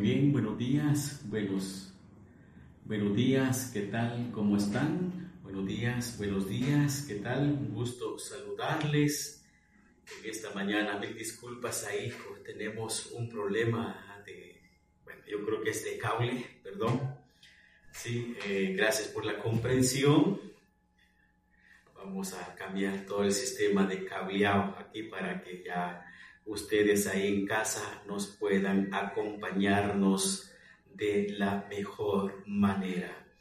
bien, buenos días, buenos, buenos días, ¿qué tal? ¿Cómo están? Buenos días, buenos días, ¿qué tal? Un gusto saludarles en esta mañana. Mil disculpas ahí, tenemos un problema de, bueno, yo creo que es de cable, perdón. Sí, gracias por la comprensión. Vamos a cambiar todo el sistema de cableado aquí para que ya ustedes ahí en casa nos puedan acompañarnos de la mejor manera.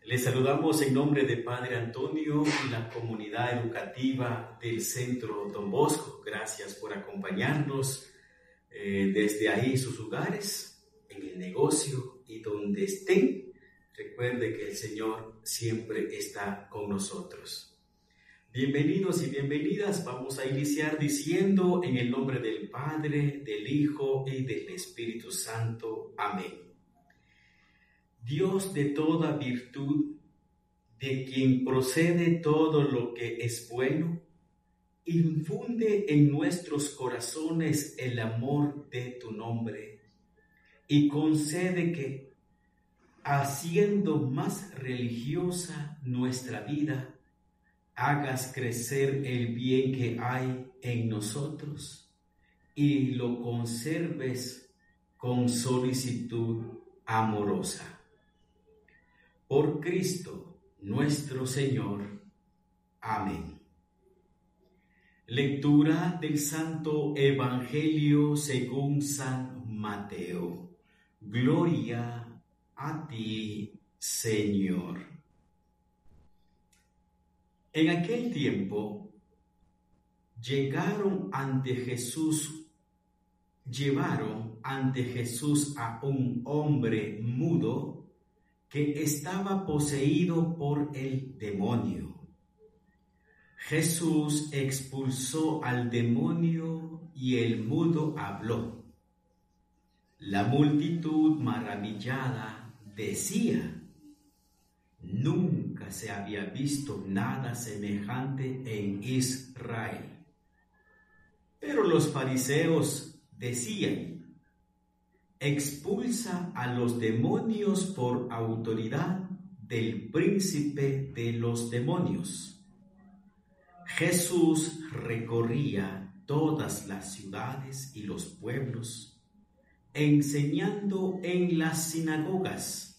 Les saludamos en nombre de Padre Antonio y la comunidad educativa del Centro Don Bosco. Gracias por acompañarnos desde ahí sus hogares, en el negocio y donde estén. Recuerde que el Señor siempre está con nosotros. Bienvenidos y bienvenidas. Vamos a iniciar diciendo en el nombre del Padre, del Hijo y del Espíritu Santo. Amén. Dios de toda virtud, de quien procede todo lo que es bueno, infunde en nuestros corazones el amor de tu nombre y concede que, haciendo más religiosa nuestra vida, hagas crecer el bien que hay en nosotros y lo conserves con solicitud amorosa. Por Cristo nuestro Señor. Amén. Lectura del Santo Evangelio según San Mateo. Gloria a ti, Señor. En aquel tiempo llevaron ante Jesús a un hombre mudo que estaba poseído por el demonio. Jesús expulsó al demonio y el mudo habló. La multitud maravillada decía: Nunca se había visto nada semejante en Israel. Pero los fariseos decían: Expulsa a los demonios por autoridad del príncipe de los demonios. Jesús recorría todas las ciudades y los pueblos, enseñando en las sinagogas,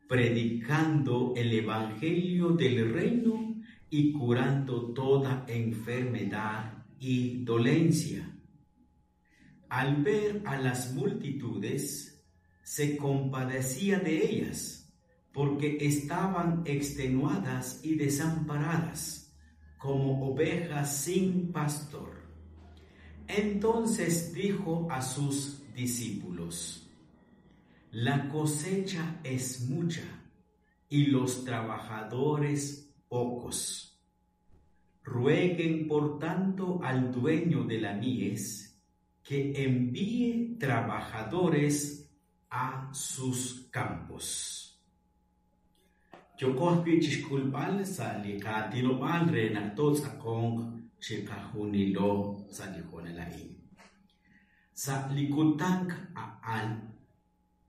predicando el evangelio del reino y curando toda enfermedad y dolencia. Al ver a las multitudes, se compadecía de ellas, porque estaban extenuadas y desamparadas, como ovejas sin pastor. Entonces dijo a sus discípulos: La cosecha es mucha y los trabajadores pocos. Rueguen, por tanto, al dueño de la mies que envíe trabajadores a sus campos. Yokohpi chixkulb'al sa' li qaatinob'aal re naq tootz'aqonq chiqajunilo sa' li hoonal a'in. Sa' li kutan a'an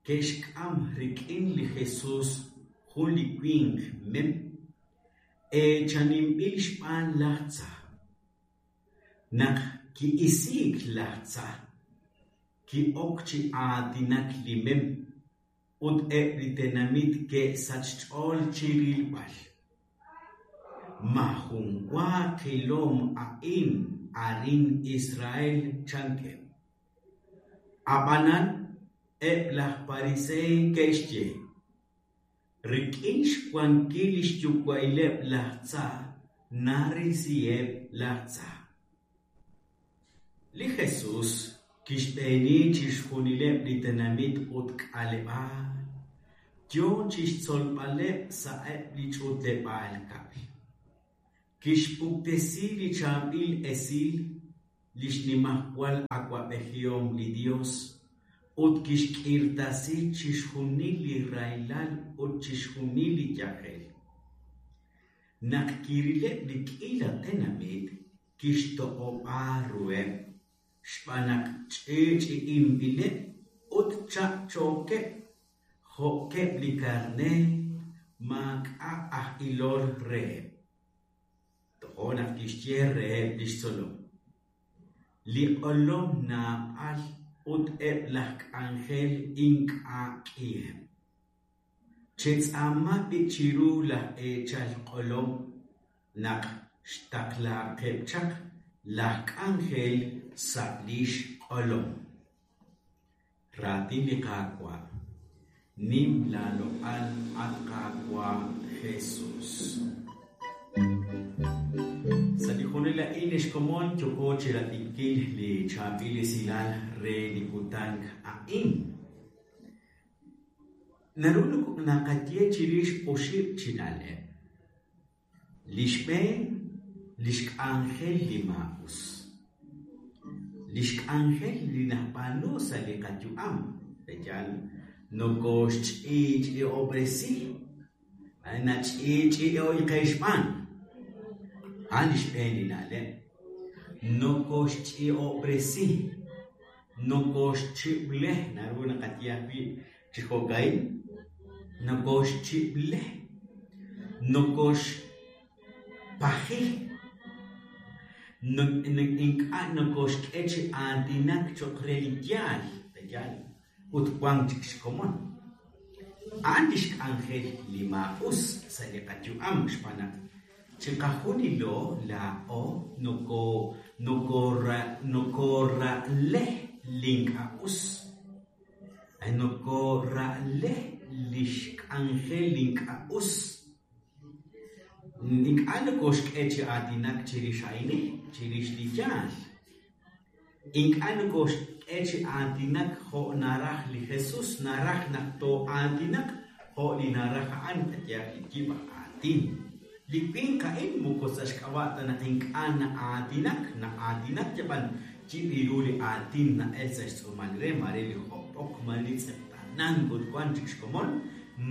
ke'xk'am rik'in li Jesus jun li winq mem eechaninb'il xb'aan laj tza. Naq ki'isiik laj tza, ki'ok chi aatinak li mem ut eb' li tenamit ke'sach xch'ool chi rilb'al. Ma jun wa qilom a'in arin Israel chankeb'. Ab'anan eb' laj pariseey ke'xye: Rik'in xwankil li xyuwa'ileb' laj tza narisiheb' laj tza. Li Jesus kixb'eeni chixjunileb' li tenamit ut k'aleb'aal, yo chixtzolb'aleb' sa'eb' li ch'utleb'aal kab'l. Kixpuktesi li chaab'il esil li xnimajwal awa'b'ejihom li Dios ut kixk'irtasi chixjunil li rahilal ut chixjunil li yajel. Naq kirileb' li k'iila tenamit, kixtoq'ob'a ruheb' xb'aan naq ch'i'ch'i'inb'ileb' ut Chapchookeb' jo'keb' li karneer maak'a' aj ilol reheb'. Toja' naq kixye reheb' li xtzolom: Li q'olom naab'al ut eb' laj k'anjel ink'a' k'iheb'. Chetz'aama b'i' chiru laj eechal q'olom naq xtaqlaaqeb' chaq laj k'anjel sa' li xq'olom. Raatin li Qaawa'. Nim laaloq'al, at Qaawa' Jesus. Sa' li hoonal a'in, ex komon, yooko chirab'inkil li chaab'il esilal re li kutan a'in. Naru naqaye chirix oxib' chi na'leb'. Li xb'een, lix k'anjel li maa'us. Lix k'anjel li nab'aanu sa' li qayu'am, pe'yaal nokoxch'i'ch'i'ob'resi, nach'i'ch'i'oy qe xb'aan. A'an li xb'een li na'leb'. Nokoxch'i'ob'resi, nokoxchib'le, naru naqaye ajwi' chi jo'ka'in, nokoxchib'le, nokoxpaji, ink'a' nokoxk'e chi aatinak cho'q re li yaal, pe'yaal, ut wank chik xkomon. A'an lix k'anjel li maa'us sa' li qayu'am xb'aan naq chiqajunilo laa'o nokora'le li ink'a' us. Nokora'le lix k'anjel li ink'a' us. Ink'a' nokoxk'e chi aatinak chirix a'in, chirix li yaal. Ink'a' nokoxk'e chi aatinak jo' naraj li Jesus, naraj naq too'aatinaq jo' li naraj a'an, qayehaq li yib' aj aatin. Li winq a'in moko sa' xk'ab'a' ta naq ink'a' na'aatinak, na'aatinak yab'an yib' ru li aatin na'el sa' xtz'uumal re, mare li job'ok, mare li tz'eqtaanank ut wank chik xkomon,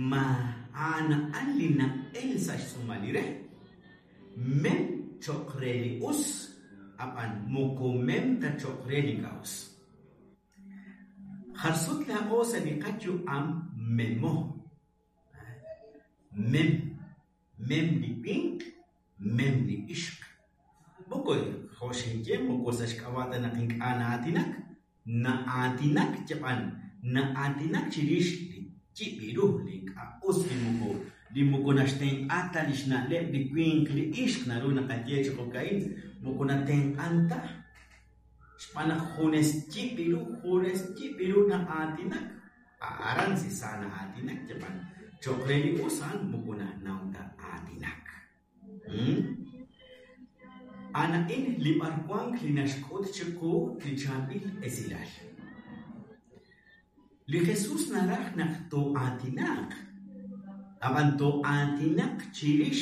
ma a'an a'an li na'el sa' xtz'uumal li re. Mem cho'q re li us, ab'an moko mem ta cho'q re li ink'a' us. Jar sut laa'o sa' li qayu'am memo. Mem, mem li winq, mem li ixq. Moko jo' xinye, moko sa' xk'ab'a' ta naq ink'a' na'aatinak, na'aatinak yab'an na'aatinak chirix li yib' ru, li ink'a' us, li moko naxtenq'a ta li xna'leb' li winq li ixq, naru naqaye chi jo'ka'in, moko natenq'an ta. Xb'aan naq junes yib' ru na'aatinak, aran si sa na'aatinak yab'an cho'q re li us a'an moko nanaw ta aatinak. A'an a'in li b'arwank li naxk'ut chiqu li chaab'il esilal. Li Jesus naraj naq too'aatinaq, ab'an too'aatinaq chirix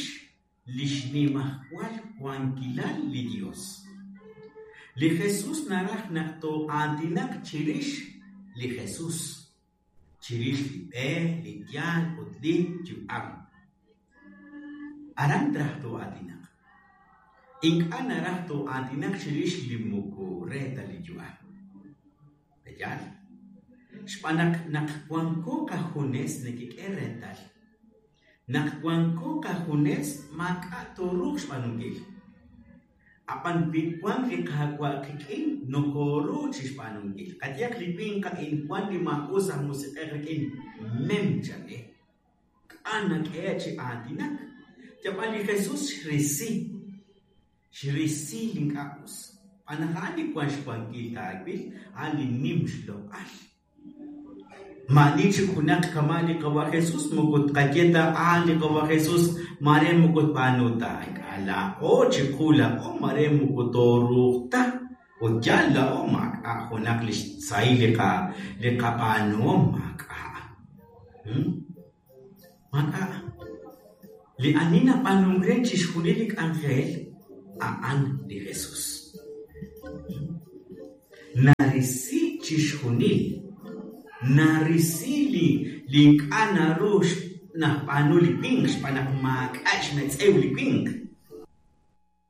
li xnimajwal wankilal li Dios. Li Jesus naraj naq too'aatinaq chirix li Jesus, chirix li b'e, li yaal ut li yu'am. Aran traj too'aatinaq. Ink'a' naraj too'aatinaq chirix li moko re ta li yu'am. Pe'yaal? Xb'aan naq naq wanko qajunes nekek'e reetal. Naq wanko qajunes maak'a' tooruuq xb'aanunkil. Ab'an wi wank li Qaawa' qik'in nokooru chi xb'aanunkil. Qayehaq li winq a'in wank li maa'us aj musiq'ej rik'in mem chan K'a' nak'ehe' chi aatinak. Yab'an li Jesus xrisi, xrisi li ink'a' us. Xb'aan naq a'an li wank xwankil taawil, a'an li nim xloq'al. Ma'ani chik junaq kama' li Qawa' Jesus, moko tqaye ta a'an li Qawa' Jesus, mare moko tb'aanu ta. Ink'a' laa'o chiqu laa'o mare moko tooruuq ta. Ut yaal laa'o maak'a' junaq li xsahil li qab'aanuhom maak'a'. Maak'a'. Li ani nab'aanunk re chixjunil li k'anjel a'an li Jesus. Narisi chixjunil, narisi li ink'a' naru nab'aanu li winq xb'aan naq maak'a' xmetz'ew li winq.